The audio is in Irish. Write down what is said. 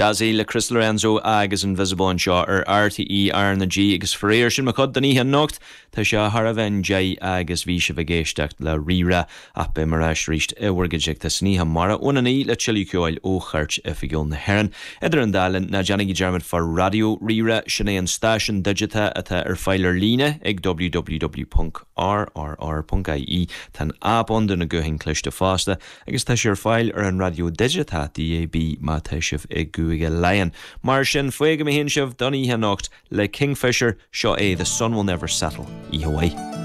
Jazzy le Chris Lorenzo agus Invisible anseo ar RTÉ R na G agus faraor sin mo chuid don oíche anocht. Tá sé thar a bheith i ndiaidh agus bhí sibh ag éisteacht le Rí-Rá ach beidh mé ar ais arís i bhur gcuideachta san oíche amárach óna 9 le tuilleadh ceoil ó chairt oifigiúil na hÉireann. Idir an dá linn, ná déanaigí dearmad fá Raidió Rí-Rá, sin é an stáisiún digiteach atá ar fáil ar líne ag www.rrr.ie. Tá an aip ann do na gutháin cliste fosta agus tá sé ar fáil ar an raidió digiteach DAB má tá sibh i gCúige Laighean. Mar sin, fágfaidh mé féin sibh don oíche anocht le Kingfisher, seo é The Sun Will Never Settle. Oíche mhaith.